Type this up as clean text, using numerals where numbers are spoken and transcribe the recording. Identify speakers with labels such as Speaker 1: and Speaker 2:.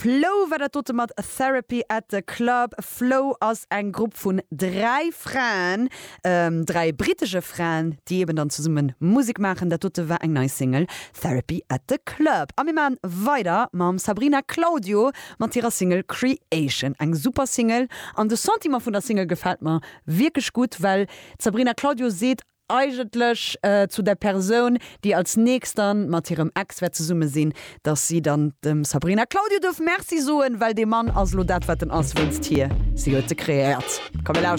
Speaker 1: Flow war dat dote mat Therapy at the Club. Flow ass eng Grupp vun 3 Fraen, 3 brittesche Fraen, déi eben dann zesumme Musek maachen. Dat dote war eng nei Single, Therapy at the Club. A mir maachen weider mam Sabrina Claudio mat hirer Single Creation. Eng super Single an de Sentiment vun der Single gefält mer wierklech gutt, well d'Sabrina Claudio seet eigentlech zu der Persoun, déi als nächst dann mat hirem Ex wäert zesumme sinn, dass si dann dem Sabrina Claudio duerf Merci soen, well dee Mann ass elo dat wat en ass wéinst hir, si huet se kreéiert. Komm mir lauschteren.